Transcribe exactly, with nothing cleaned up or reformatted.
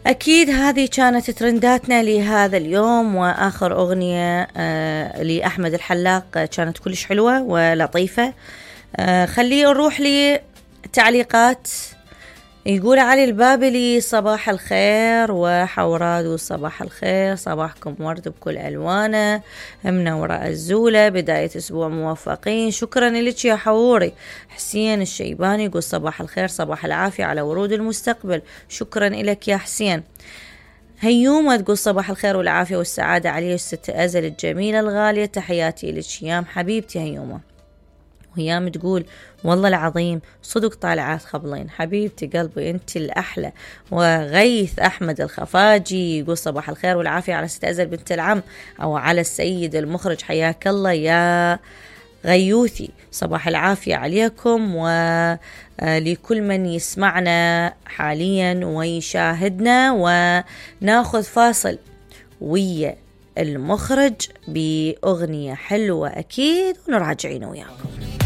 أكيد هذه كانت ترنداتنا لهذا اليوم، وآخر أغنية آه لأحمد الحلاق كانت كلش حلوة ولطيفة. آه خليه نروح لتعليقات. يقول علي البابلي: صباح الخير وحوراد، صباح الخير، صباحكم ورد بكل ألوانه، منورة الزولة، بداية أسبوع موفقين، شكرا لك يا حوري. حسين الشيباني يقول: صباح الخير، صباح العافية على ورود المستقبل، شكرا لك يا حسين. هيومة تقول: صباح الخير والعافية والسعادة علي ست أزل الجميلة الغالية، تحياتي لك يام حبيبتي هيومة. وهيام تقول: والله العظيم صدق طالعات خبلين، حبيبتي قلبي انت الأحلى. وغيث أحمد الخفاجي يقول: صباح الخير والعافية على ست أزل بنت العم، أو على السيد المخرج، حياك الله يا غيوثي، صباح العافية عليكم ولكل من يسمعنا حاليا ويشاهدنا. وناخذ فاصل ويا المخرج بأغنية حلوة أكيد ونراجعين وياكم.